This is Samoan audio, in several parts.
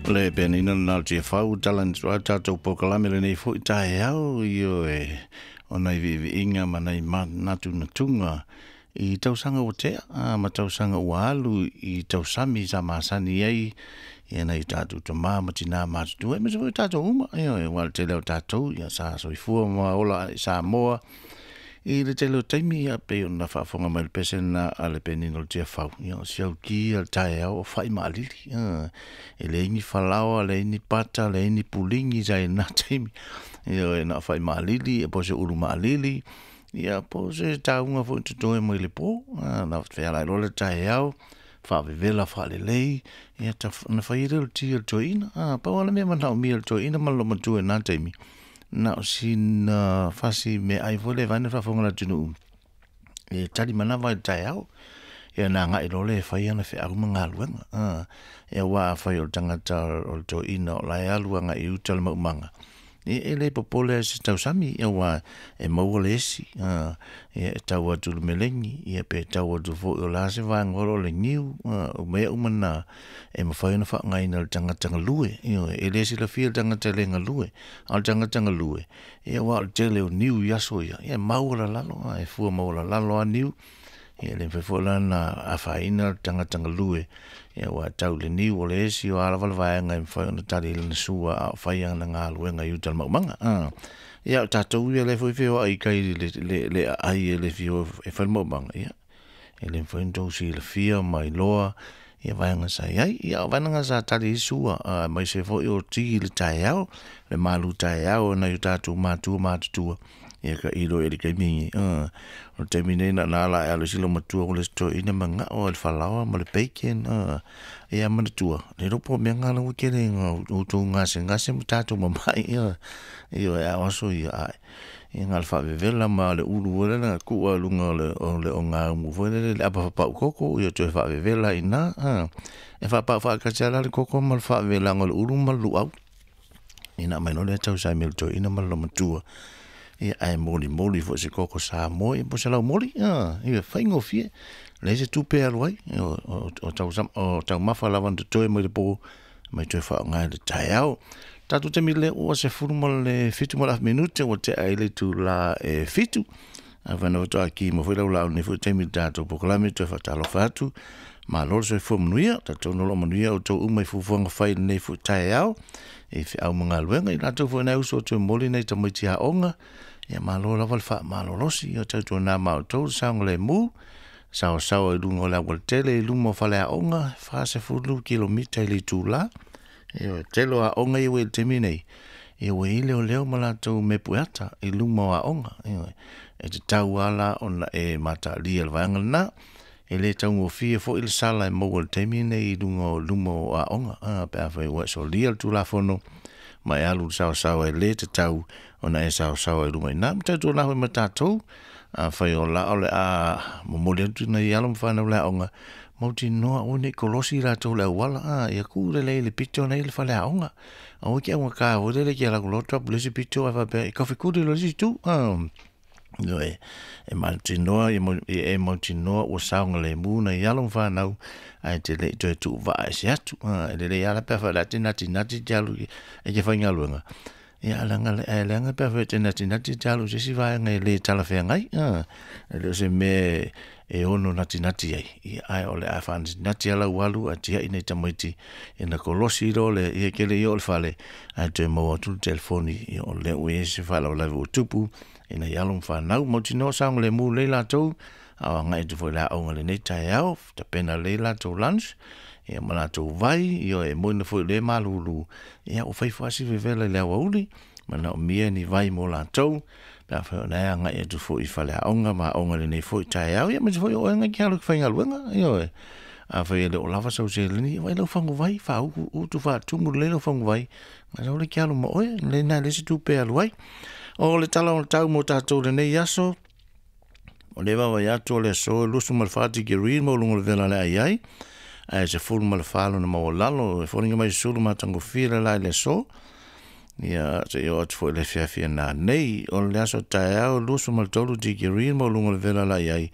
Le penina na te fau tala ni tatou polokalame lenei foi taeao ioe ona i viiviiga ma nai manatunatuga i tausaga ua tea ma tausaga ua alu i tausami sa masani ai ia nai tatou tamā ma tinā matutua aemaise foi tatou uma ioe aua o le tele o tatou ia sa soifua ma ola i Samoa i le tele o taimi ia pei ona faafofoga mai le pese lena a le penina o le Tiafau ia o si auki a le taeao o fai maalili e leai ni falaoa leai ni pata leai ni puligi sa i lena taimi ioe na o fai maalili ia po o se ulu maalili ia po o se tauga foi totoe mai le po na fealai loa le taeao faavevela faalelei ia na fai ai lea o le ti o le toeaina pau lava le mea manaomia e le toeaina ma le loomatua i lena taimi na o sina fasi meaai foi lea vaeane le faafofoga a le atunuu e tali manava ai i le taeao ia ona agai loa lea e fai ana feau ma galuega ia aua afai o le tagata o le toeaina o la e alu agai i uta le maumaga ia e le popole lava i se tausami aua e maua le esi ia e tau atu i le melegi ia pe tau atu foi o le a se vaega o le niu o mea uma na e mafai ona faaaogaina e le tagata galue ioe e le silafia e le tagata e le galue a o le tagata galue ia aua o le tele o niu i aso ia e maualalalo e fua maualalalo lava niu ia e le mafai foi la ona afaina le tagata galue ia aua e tau i le niu o le esi o a lava le vaega e mafai ona tali ai lana sua a o fai ana galuega i uta i le maumaga ia o tatou ia lea foi e feoai i tai i le aai e le fia o e fai le maumaga ia e le mafai ona outou silafia ma iloa ia vaega sa i ai. Ia o vaega sa tali ai sua, aemaise foi o ti i le taeao, le malu taeao e nai o tatou matua matutua, ia tailo i ai i le taimi lenei. O le taimi nei na ona ala lava e alu i si loomatua o le isi toeaina manao i le falaoa ma le bacon, ia manatua, le iloa po o mea na la ua tele ina outou gasegase ma tatou mamai, ioe, a o aso ia, ae, ia na o le faavevela ma le ulu foi lele na tuu lava i luga o le ogaumu foi lele le apa faapau koko, ia toe faavevela ai i ina, e faapau faatasi lava la le koko ma le faavevelaga o le ulu ma le luau. Ia ona aumai loa lea tausami e le toeaina ma le loomatua, ia ae molimoli foi i se koko Samoa ia po o se laumoli, ia faigofie. Leai se tupe e alu ai, o taumafa lava na totoe mai le po, mai toe faaaoga i le taeao. Tatou taimi lea ua 17 ma le afu minute ua tea ai le itula e 7. Afai na faatoa ki mai foi lau laau i lenei foi taimi i le tatou polokalame, toe faatalofa atu. Malo le soifua manuia, talitonu o lo o manuia outou uma i fuafuaga fai i lenei foi taeao i feau ma galuega. I latou foi nai uso toe momoli nai tamaiti aoga, ia malo lava le faamalolosi, ia tautuana ma outou le saogalemu, saoasaoa i luga o le aualatele i luma o faleaoga, 40 kilomita i le itula. Ia tele o aoga ia ua i le taimi nei, ia ua i ai leoleo ma latou mepueata i luma o aoga. Ioe, e tatau lava la ona e mataalia le vaega lena. E le taugofie foi le sala e maua i le taimi lenei i luga o luma o aoga, pe afai ua e solia le Tulafono ma e alu i le saoasaoa e le tatau ona e saoasaoa i luga i ina. Ma tautuana foi ma tatou, afai o la o le a momoli atu nai alo ma fanau i le aoga, mautinoa aua ne i kolosi latou i le auala, ia tu lelei i le pito lena e i ai le faleaoga. Aua e te augata foi lele e te alu atu loa drop i le isi pito ae faapea e taufetuli loa i le isi itu. Ioe, e mautinoa e mautinoa ua saogalemu nai alo ma fanau ae te le i toe tuuvaa ese atu. E lelei lava la pe afai o le a te natinati te alu e te faigaluega, ia leaga ae leaga pe afai e te natinati te alu i se isi vaega e le talafeagai, e le o se mea e ono natinati ai, ia ae o le a faanatinati lava lau alu ae tiai nai tamaiti ina kolosi loa le ia e te le i oo i le fale ae toe maua atu le telefoni ia o lea ua i ai se faalavelave ua tupu i nai alo ma fanau. Mautinoa saogalemu lelei latou a o agai atu foi i le aoga i lenei taeao, tapena lelei latou lunch ia ma latou vai, ia e moni foi o lea e malulu, ia ua fai foi lava si vevela i le aoauli, manaomia ni vai mo latou pe afai o la e agai atu foi i faleaoga ma aoga i lenei foi taeao, ia aemaise foi o oe na e te alu i te faigaluega, ioe. Afai e le o lava sau seleni, vaai lau faguvai, faautu faatumu lelei lau faguvai, ona sau lea e te alu ma oe, lena e leai se tupe e alu ai. O le tala o le tau mo tatou i lenei aso, o lea e vaavaai atu o le aso e 24 tikeri le maualuga o le vela o le a i ai, ae 14 lona maualalo, e foliga mai sulu matagofie le la i le aso. Ia, seia oo atu foi i le afiafi a nanei. O le aso taeao, 23 tikeri le maualuga o le vela o le a i ai,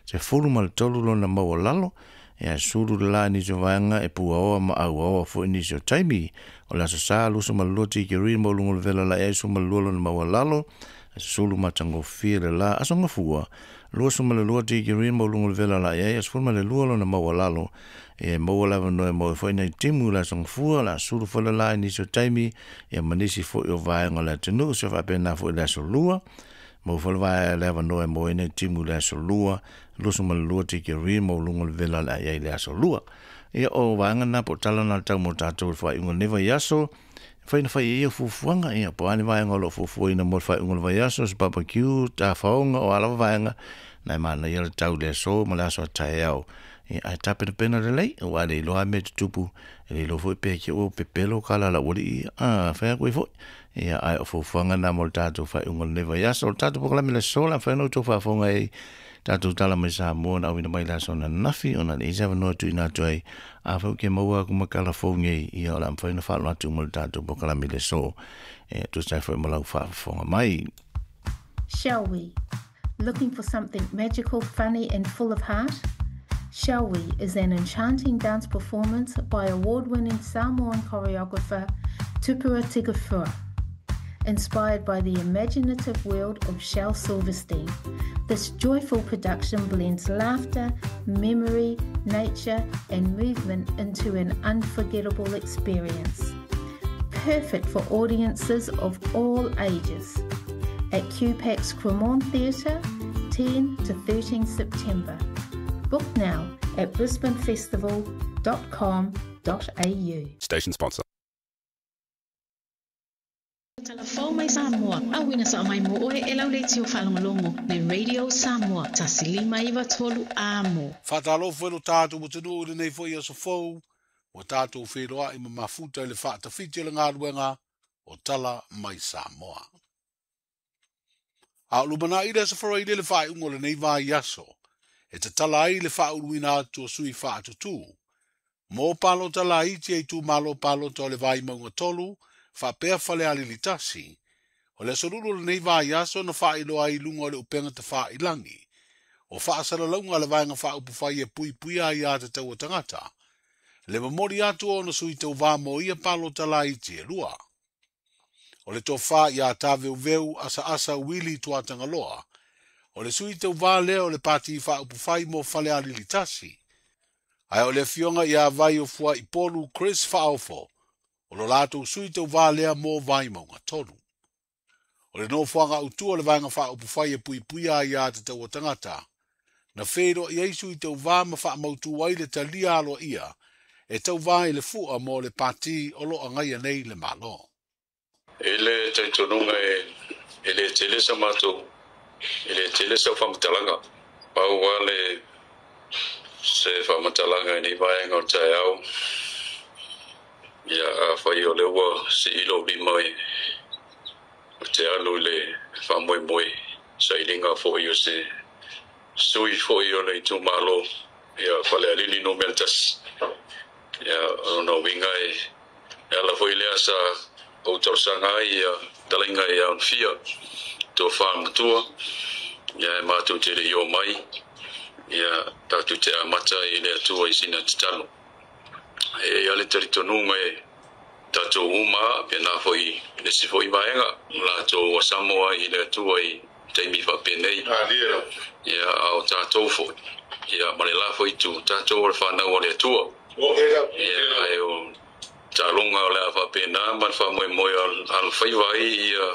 13 lona maualalo. Ia sulu le la nisi o vaega e puaoa ma auaoa foi nisi o taimi. O le Aso Sa 22 tikeri ma uluga o le vela la ai 12 lona maualalo. Aso sulu matagofie le la. Aso Gafua 22 tikeri ma uluga o le vela la ai 12 lona maualalo. E maua lava noe mo foi nei timu le aso Gafua la sulu foi le la nisi o taimi ia ma nisi foi o vaega o le atunuu se faapena foi le aso lua. Mo foi le lava noe mo nei timu le aso lua 22 tikeri ma uluga o le vela la ai le aso lua. Ia o vaega na po tala na tau mo tātou le faaiuga o lenei vaiaso. Fai na fai e ia fuafuaga, ia po o a ni vaega o lo o fuafuaina mo le faaiuga o le vaiaso, se barbecue, tafaoga, o a lava vaega, na e manaia le tau i le aso ma le aso a taeao. Ia, ae tapenapena lelei, aua e le iloa lava mea e tutupu, e le iloa foi pe te i ua pepelo kala a le aualii ia, a fai atu ai foi. Ia, ae o fuafuaga na mo le tatou faaiuga o lenei vaiaso. O le tatou polokalame i le aso, o le a mafai ona outou faafofoga ai tatou tala mai Samoa na auina mai le aso ananafi ona e leai se avanoa e tuuina atu ai. Afai ou te maua aku ma tala fou nei, ia o le a mafai ona faalogo atu mo le tatou polokalame i le aso. E tusa ai foi ma lau faafofoga mai. Shall we? Looking for something magical, funny and full of heart? Shall We is an enchanting dance performance by award-winning Samoan choreographer Tupua Tupua. Inspired by the imaginative world of Shel Silverstein, this joyful production blends laughter, memory, nature and movement into an unforgettable experience. Perfect for audiences of all ages. At QPAC's Cremorne Theatre, 10 to 13 September. Book now at brisbanefestival.com.au. Station sponsor. Talafou mai Samoa, auina sa mai mo oe e lau leitio faalogologo le Radio Samoa, 1 5 3 Amo. Faatalofa i lo tatou atunuu i lenei foi aso fou, ua tatou feiloai ma mafuta i le faatafiti o le galuega o Tala mai Samoa. A o lumanai le aso Faraile le faaiuga o lenei vaiaso, e tatala ai le faauluina atu o sui faatutū mo palota laiti e itumalo palota o le Vaimauga 3 faapea Falealili 1. O le aso Lulu o lenei vaiaso na faailoa ai i luga o le upega tafailagi o faasalalauga a le Vaega Faaupufai e Puipuia Aiā Tatau a Tagata le momoli atu o ona sui tauvā mo ia palota laiti e lua. O le tofa iā Taveuveu Asaasa Uili Tuatagaloa, o le sui tauvā lea o le Pati Faaupufai mo Falealili 1. Ae o le afioga iā Vaiofuaipolu Chris Faaofo, o lo latou sui tauvā lea mo Vaimauga 3. O le nofoaga autū o le Vaega Faaupufai e Puipuia Aiā Tatau a Tagata, na feiloai ai sui tauvā ma faamautū ai le talia aloaia e tauvā i le fua mo le Pati o lo o agaia nei le Malo. I le talitonuga e le tele sa matou, e le tele sau faamatalaga. Pau lava le se faamatalaga i nei vaega o le taeao, ia afai o lea ua sii lou lima ou te alu i le faamoemoe sailiga foi o se sui foi o le itumalo ia Falealili Nu.1. Ia o lona uiga e ala foi lea sa ou talosaga ai ia talaiga ia Onafia tofa matua ia e matou te le i omai ia tatou te amata i le Atua i sina tatalo. E i ai lava le talitonuga e tatou uma pena foi le isi foi vaega latou ua samo ai i le Atua i taimi faapenei ia a o tatou foi ia ma le la foi itu tatou o le fanau a le Atua ia ae o taaloga o le a faapena ma le faamoemoe alofaiva ai ia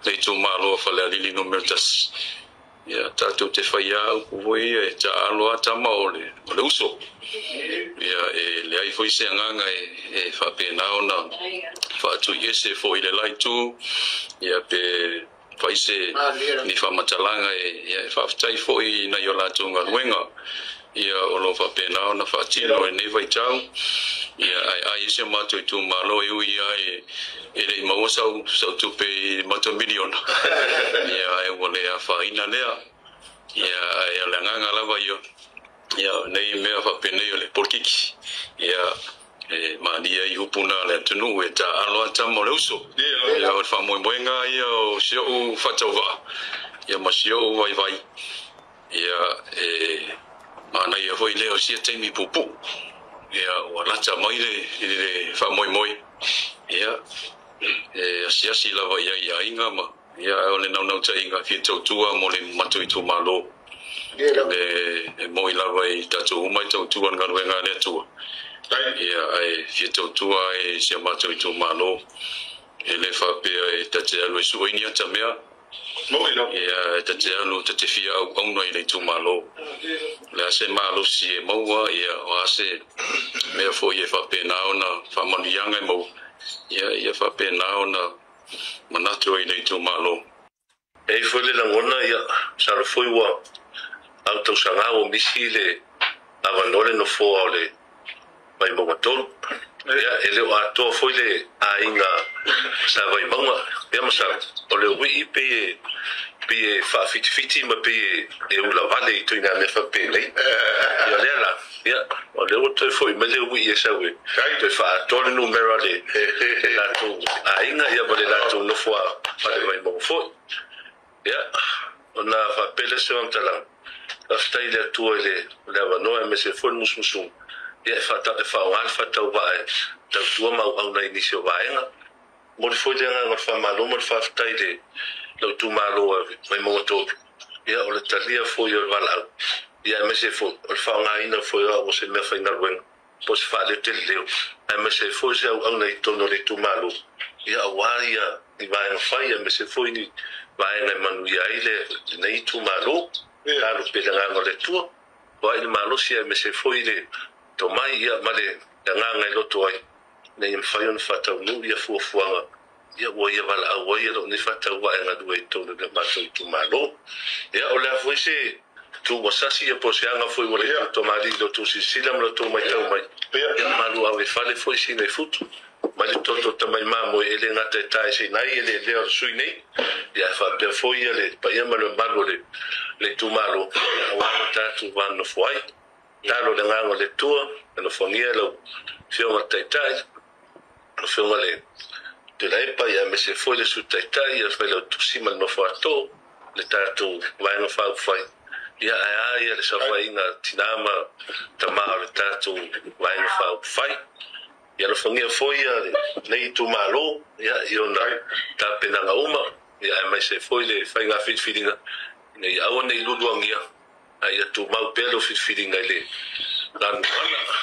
le itumalo o Falealili Nu.1 ia tatou te faia upu foi ia e taaalo lava tama o le o le uso ia e leai foi se agaga e faapena ona faatuiese foi i le la itu ia pe fai se ni faamatalaga e ia e faafetai foi i nai o latou galuega ia o lo o faapena ona faatino i lenei vaitau ia ae ai ai si o matou itumalo e ui lava e le i maua sau sau tupe i le matou miliona ia ae ua le afaina lea ia ae o le agaga lava ia ia o nei mea faapenei o le polokiki ia e malie ai upu na a le atunuu e taaalo lava tama o le uso ia o le faamoemoega ia o si ou faatauvaa ia ma si ou vaivai ia e Manaia foi lea o sia taimi puupuu. Ia ua lata mai le i le faamoemoe. Ia e asiasi lava i ai i aiga ma ia ae o le naunautaiga fia tautua mo le matou itumalo. Le e moi lava i tatou uma e tautua i le galuega a le Atua. Ia ae fia tautua ai i si o matou itumalo. E le faapea e ta te alu e sue ni ata mea. Ia e ta te alu ta te fia auauna i le itumalo. O le a se malosi e maua, ia o a se mea foi e faapena ona faamanuiaga e maua, ia ia faapena ona manatu ai i le itumalo. E i ai foi le lagona, ia, masalo foi ua au tausaga ua misi le avanoa le nofoa o le Vaimauga 3. Ia, e le o atoa foi le aiga sa Vaimauga. Ia, masalo, o le uii pei e, pei e faafitifiti ma pei e ulavale i ituaiga mea faapenei. Ia, o lea la, ia, o lea ua toe foi mai le uii e sau e toe faaatoa le numera o le latou aiga, ia, ma le latou nofo a Fale Vaimauga foi. Ia, ona faapea lea o se faamatalaga, faafetai i le Atua i le avanoa aemaise foi le musumusuga, ia, e faaaoga le faatauvaa e tautua ma auauna i nisi o vaega. Momoli foi le agaga o le faamalo ma le faafetai i le lou itumalo Vaimauga 3, ia, o le talia foi o le valaau, ia, aemaise foi o le faaaogaina foi o au o se meafaigaluega po o se faaleo tele leo, aemaise ai foi se auauna i totonu o le itumalo, ia, aua ia ni vaega fai, aemaise foi ni vaega e manuia ai lenei itumalo. Talo pea i le agaga o le Atua, foai le malosi aemaise foi le tomai, ia, ma le agaga e loto ai, ina ia mafai ona faataunuu ia fuafuaga, ia, ua ia valaau ai lou nei faatauvaa e galue i totonu o le matou itumalo. Ia, o le a foi se tu ua sasi, ia, po o se aga foi ua le tou tamalii i lo outou silasila ma lo outou matau mai, ia, malu ave fale foi sina i futu mai le toto tamai mamoe, e le gata e taeseina ai eleelea o le sui nei, ia, ae faapea foi ia le paia ma le mamalu o le itumalo, ia, aua lo tatou va nonofo ai. Talo i le agaga o le Atua, e nofoagia lau Afioga i le Taitai, lau Afioga i le Tuilaepa, ia, aemaise foi le Sui Taitai, ia, le Failautusi ma le nofo atoa, le tatou Vaega Faaupufai, ia, ae a ia le saofaiga a tina ma tama o le tatou Vaega Faaupufai. Ia alofagia foi ia lenei itumalo, ia, i ona tapenaga uma, ia, aemaise foi le faiga filifiliga, ina ia aua ne i luluagia, a ia tumau pea lou filifiliga i le Lanuana.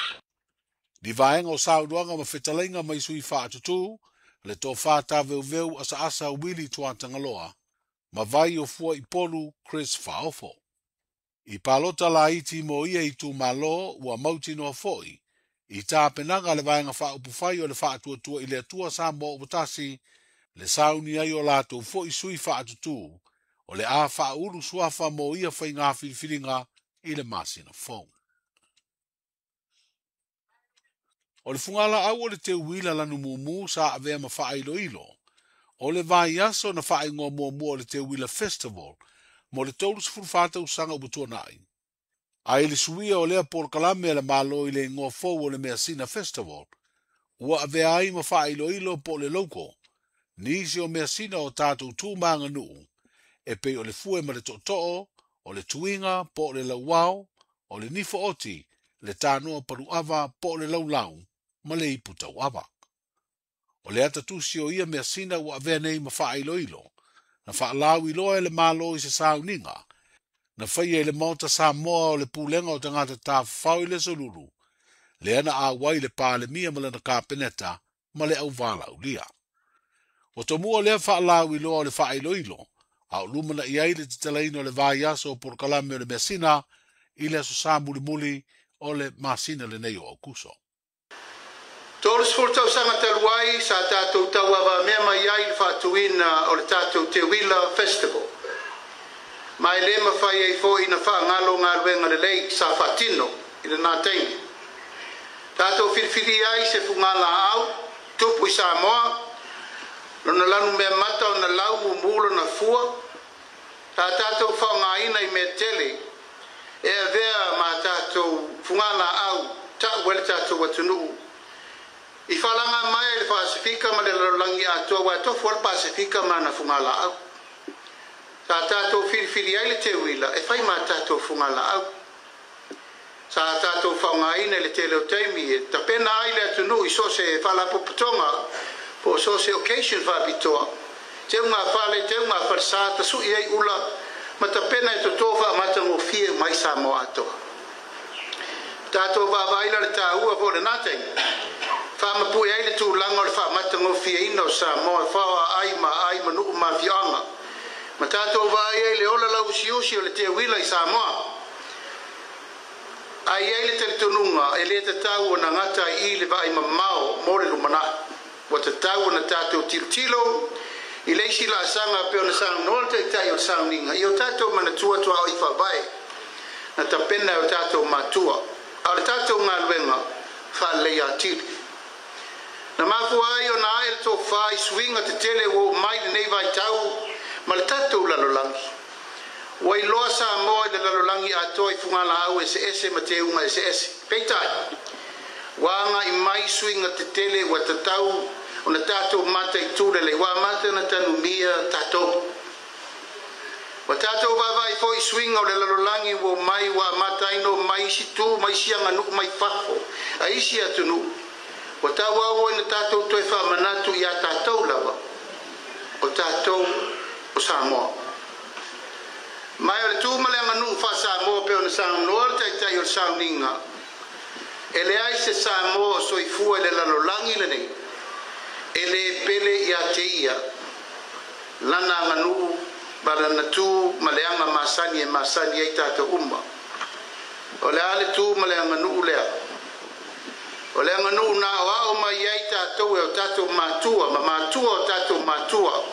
Ni vaega o saunoaga ma fetalaiga mai sui faatutū, le tofa tāveuveu asaasa Willie Tuatagaloa, ma vai o fua i polu Chris Faaofo. I palota laiti mo ia itumalo ua mautinoa foi i tapenaga a le Vaega Faaupufai o le Faatuatua i le Atua Samoa ua tasi le sauni ai o latou foi sui faatutū o le a faaulu suafa mo ia faiga filifiliga i le masina fou. O le fugalaau o le teuila lanu mumu sa avea ma faailoilo o le vaiaso na faaigoa muamua o le Teuila Festival mo le 34 tausaga ua tuanai. Ae i le suia o lea polokalame a le Malo i le igoa fou o le Measina Festival, ua avea ai ma faailoilo po o le logo nisi o measina o tatou tu ma aganuu, e pei o le fue ma le tootoo, o le tuiga po o le lauao, o le nifo oti, le tanoa paluava po o le laulau, ma le ipu tauava. O le ata tusi o ia measina ua avea nei ma faailoilo, na faalauiloa e le Malo i se sauniga, na faia i le Maota Samoa o le Pulega o Tagata Tafafao i le Aso Lulu, lea na auai le Palemia ma lana Kapeneta ma le auvalaulia. Ua tomua lea faalauiloa o le faailoilo, a o lumanai ai le tatalaina o le vaiaso o polokalame o le measina i le aso Sa mulimuli o le masina lenei o Aokuso. 30 tausaga talu ai sa tatou tauavamea mai ai i le faatuina o le tatou Teuila Festival. Ma e le mafai ai foi na faagalo galuega lelei sa faatino i lena taimi. Tatou filifilia ai se fugalaau tupu i Samoa, lona lanu meamata ona lau mumu lona fua, sa tatou faaaogaina i mea tele e avea ma tatou fugalaau ta'u ai le tatou atunuu. I faalaga mai ai le Pasefika ma le lalolagi atoa aua e tofu lava le Pasefika ma ana fugalaau. Sa tatou filifili ai le teuila e fai ma tatou fugalaau. Sa tatou faaaogaina i le tele o taimi e tapena ai le atunuu i so o se faalapotopotoga po o so o se occasion faapitoa, teugafale, teugafalesa, tasui ai ula ma tapena e toto faamatagofie uma ai Samoa atoa. Tatou vaavaai la le taua foi o lena taimi, faamapue ai le tulaga o le faamatagofieina o Samoa e fao aai ma aai ma nuu ma afioaga, ma tatou vaai ai le ola lauusiusi o le teuila i Samoa. Ae i ai le talitonuga e le tatau ona gata ai i le vaai mamao mo le lumanai. Ua tatau ona tatou tilotilo i le isi laasaga pei ona saunoa le Taitai o le sauniga i o tatou manatua tuaoi faavae na tapena e o tatou matua, a o le tatou galuega faaleleia atili. Na mafua ai ona ae le tofa i suiga tetele ua oo mai lenei vaitau ma le tatou lalolagi. Ua iloa Samoa i le lalolagi atoa i fugalaau eseese ma teuga eseese. Peitai, ua agai mai suiga tetele ua tatau ona tatou mataitu lelei, ua amata ona tanumia tatou. Ua tatou vaavaai foi i suiga o le lalolagi ua omai, ua amata ai ona omai isi tu ma isi aganuu mai fafo a isi atunuu. Ua tauau ina tatou toe faamanatu iā tatou lava, o tatou o Samoa. Ma o le tu ma le aganuu faa-Samoa pei ona saunoa le Taitai o le sauniga, e leai se Samoa o soifua i le lalolagi lenei e lē pele iā te ia lana aganuu ma lana tu ma le aga masani e masani ai tatou uma. O le a le tu ma le aganuu lea? O le aganuu na aoao mai ai tatou e o tatou matua ma matua o tatou matua,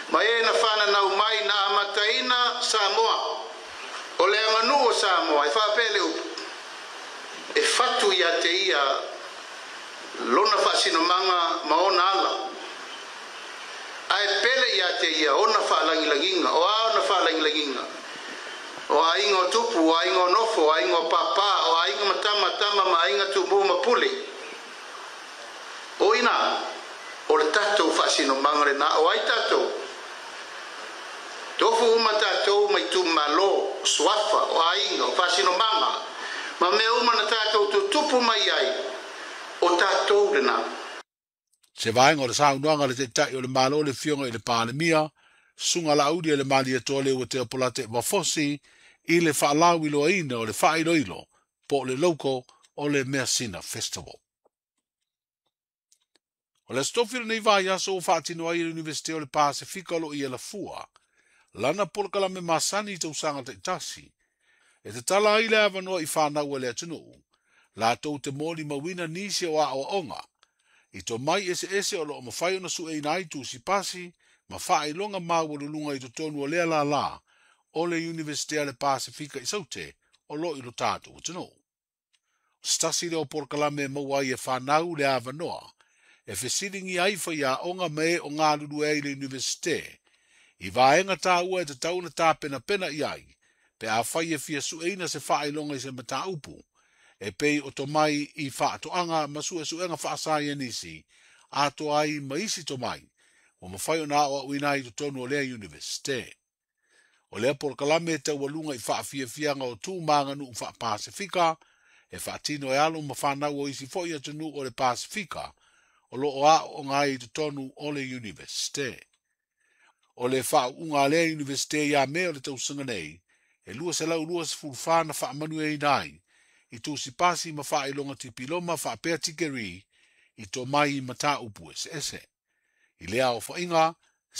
ma e na fananau mai na amataina Samoa. O le aganuu o Samoa, e faapea le upu, e fatu iā te ia lona faasinomaga ma ona ala, ae pele iā te ia ona faalagilagiga. O a ona faalagilagiga? O aiga o tupu, o aiga o nofo, o aiga o pāpā, o aiga ma tama, tama ma aiga tumū ma pule. O ina, o le tatou faasinomaga lenā. O ai tatou? Tofu uma tatou ma itumalo, o suafa, o aiga, o faasinomaga, ma mea uma na tatou tutupu mai ai, o tatou lenā. Se vaega o le saunoaga a le Taitai o le Malo le Afioga i le Palemia, Susuga Laauli le Malietoa Leuatea Polataivao Fosi i le faalauiloaina o le faailoilo po o le logo o le Measina Festival. O le Aso Tofi o lenei vaiaso ua faatino ai e le Iunivesite o le Pasefika o lo o i Alafua lana polokalame masani i tausaga taitasi e tatala ai le avanoa i fanau a le atunuu latou te molimauina nisi o aoaoga i tomai eseese o lo o mafai ona sueina ai tusi pasi ma faailoga maualuluga i totonu o lea lālā o le Iunivesite a le Pasefika i Saute o lo o i lo tatou atunuu. O se tasi lea o polokalame e maua ai e fanau le avanoa e fesiligia ai faiaoga ma e o galulue ai i le Iunivesite i vaega taua e tatau ona tapenapena i ai pe afai e fia sueina se faailoga i se mataupu e pei o tomai i faatoaga ma suesuega faasaienisi atoa ai ma isi tomai ua mafai ona aoaoina ai i totonu o lea Iunivesite. O lea polokalame e taualuga i faafiafiaga o tu ma aganuu faa-Pasefika e faatino e alo ma fanau o isi foi atunuu o le Pasefika o lo o aooga ai i totonu o le Iunivesite. O le faauuga a lea Iunivesite ia Me o le tausaga nei, e 224 na faamanuiaina ai i tusi pasi ma faailoga tipiloma faapea tikeri i tomai i mataupu eseese. I lea aofaiga,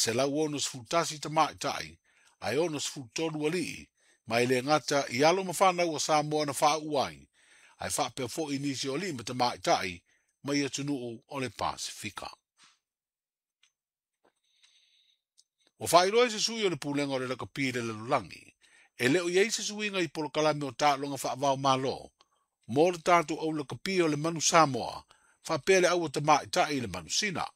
e 161 tamaitai ae 63 alii, ma e le gata i alo ma fanau a Samoa na faauu ai, ae faapea foi nisi o alii ma tamaitai mai atunuu o le Pasefika. Ua faailoa e se sui o le Pulega o le Lakapi i le Lalolagi, e le o i ai se suiga i polokalame o taaloga faava-o-Malo mo le tatou au lakapi o le Manu Samoa faapea le aua tamaitai i le Manu Sina.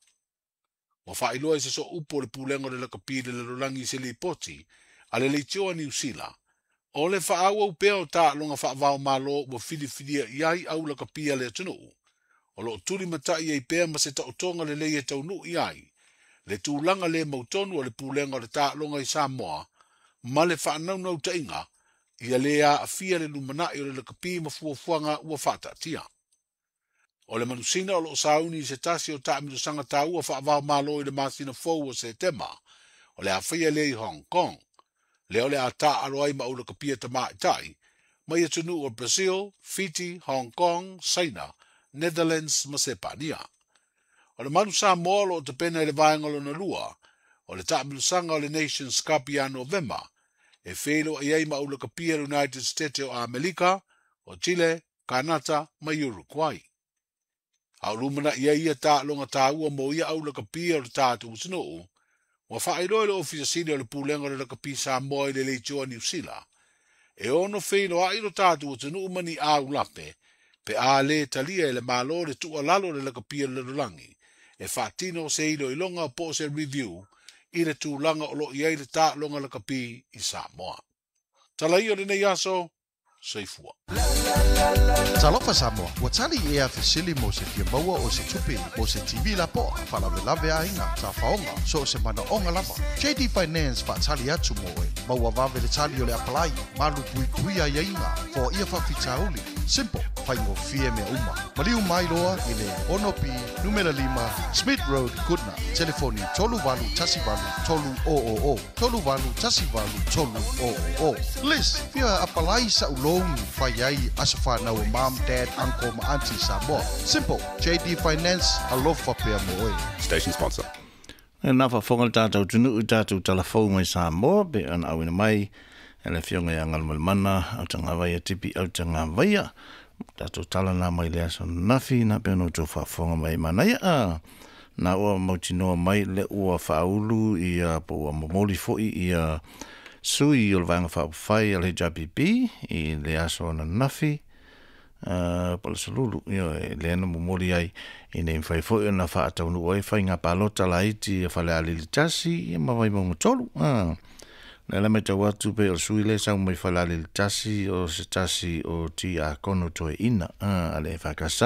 Ua faailoa e se sooupu o le Pulega o le Lakapi i le Lalolagi i se lipoti a le Leitioa Niu Sila, o le faaauau pea o taaloga faava-o-Malo ua filifilia i ai au lakapi a le atunuu, o lo o tulimatai ai pea ma se taotoga lelei e taunuu i ai le tulaga le mautonu o le Pulega o le Taaloga i Samoa ma le faanaunautaiga Ia lē aafia le lumanaʻi o le lakapi ma fuafuaga ua faataatia. O le manusina o loo sauni i se tasi o taamilosaga taua faavaomalo i le masina fou o Setema, o le a faia lea i Hong Kong, lea o le a taaalo ai ma aulakapia tamaʻitaʻi mai atunuu o Brazil, Fiti, Hong Kong, Saina, Netherlands ma Sepania. O le Manu Samoa o loo tapena i le vaega lona lua o le taamilosaga o le Nations Cup ia Novema, e feiloai ai ma aulakapia le United States o Amerika, o Chile, Kanata ma Uruguay. A o lumanaʻi ai ia taaloga taua mo ia aulakapia o le tatou atunuu, ua faailoa e le Ofisa Sili o le Pulega o le Lakapi Samoa i le leitioa Niu Sila, e ono feiloai lo tatou atunuu ma ni aulape, pe a lē talia e le Malo le tuualalo o le Lakapi o le Lalolagi, e faatino se iloiloga po o se review i le tulaga o loo i ai le taaloga lakapi i Samoa. Tala ia o lenei aso, soifua. Talofa Samoa, ua tali ea fesili mo se fia maua o se tupe mo se TV lapoa, faalavelave aiga, tafaoga, so o se manaoga lava. JD Finance faatali atu mo oe. Maua vave le tali o le apalai, malu puipuia aiaiga, foaia faafitauli. Simple, faigofie mea uma. Maliu mai loa i le 6B numera 5 Smith Road, Goodna. Telefoni 3818 300 3818 300. Liz, fia apalai sa'u loan fai ai aso whanau o mom, dad, uncle ma auntie Samoa. Simple, JD Finance, alofa pea mo oe. Station sponsor. E na faafofoga le tatou atunuu i tatou talafou mai Samoa pe ona auina mai e le Afioga ia Galumalemana Autagavaia Tipi Autagavaia. Tatou tala na mai le aso nafi na pe ona outou faafofoga mai manaia a na ua mautinoa mai le ua faaulu ia po ua momoli foi ia sui o le Vaega Faaupufai a le HRPP i le aso ananafi po o le Salulu, ioe, lea na momoli ai ina ia mafai foi ona faataunuu ai faiga palota laiti a Falealili 1 ia ma Vaimauga 3. Lea la matau atu pei o le sui lea e sau mai Falealili 1 o se tasi o Tiakono Toeaina a le EFKS,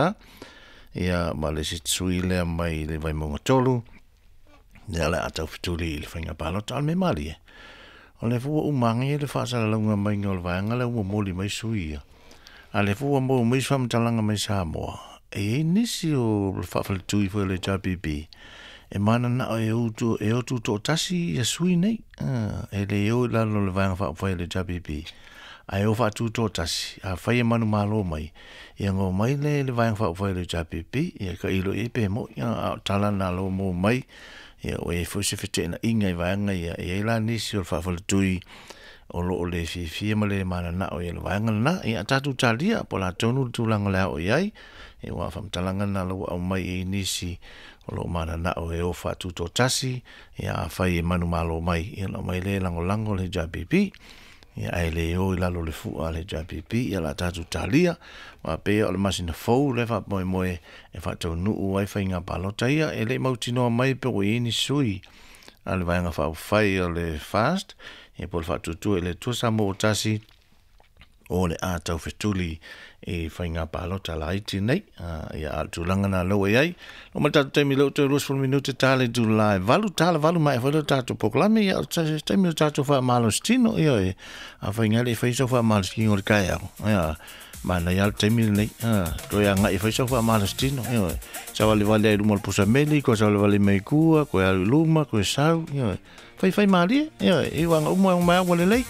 ia ma le isi sui lea mai le Vaimauga 3, lea o le a taufetuli i le faiga palota. A o le mea malie, o lea foi ua uma agi le faasalalauga maiga o le vaega lea ua momoli mai sui ia. A lea foi ua maua mai se faamatalaga mai Samoa, e i ai nisi o le faafaletui foi o le HRPP e mananao e o e o tutoatasi ia sui nei, e le o i lalo o le Vaega Faaupufai a le HRPP, ae o faatutoatasi, afai e manumalo mai, ia ona omai lea i le Vaega Faaupufai a le HRPP, ia tailo i ai pe moni, a o tala na o lo o maua mai, ia ua i ai foi se feteenaiga i vaega ia, e i ai la nisi o le faafaletui o lo o le fiafia ma le mananao i le vaega lena, ia tatou talia po o le a tonu le tulaga o le a oo i ai, ia aua o faamatalaga na o la ua aumai i ai nisi o lo o mananao e o faatutoatasi, ia afai e manumalo mai, ia ona aumai lea e lagolago le HRPP, ia ae le o i lalo o le fua a le HRPP, ia o le a tatou talia, aua pei o le masina fou lea e faamoemoe e faataunuu ai faiga palota ia, e le i mautinoa mai pe ua i ai ni sui a le Vaega Faaupufai o le FAST, ia po o le Faatuatua i le Atua Samoa ua tasi, o le a taufetuli i faiga palota laiti nei. Ia, a o le tulaga lena lea ua i ai. Oo mai le tatou taimi lea ua toe 20 minute ta le itula e 8, tala 8 maea foi lea o le tatou polokalame, ia o se taimi o le tatou faamalositino, ioe, afai e le i faia sau faamalositino i le taeao, ia, manaia lava le taimi lenei, toe agai e fai sau faamalositino, ioe, savalivali ai i luma o le pusa meli, toe savalivali mai i tua, toe alu i luma, toe sau, ioe, faifai malie, ioe, i uaga uma e omai lava ua lelei.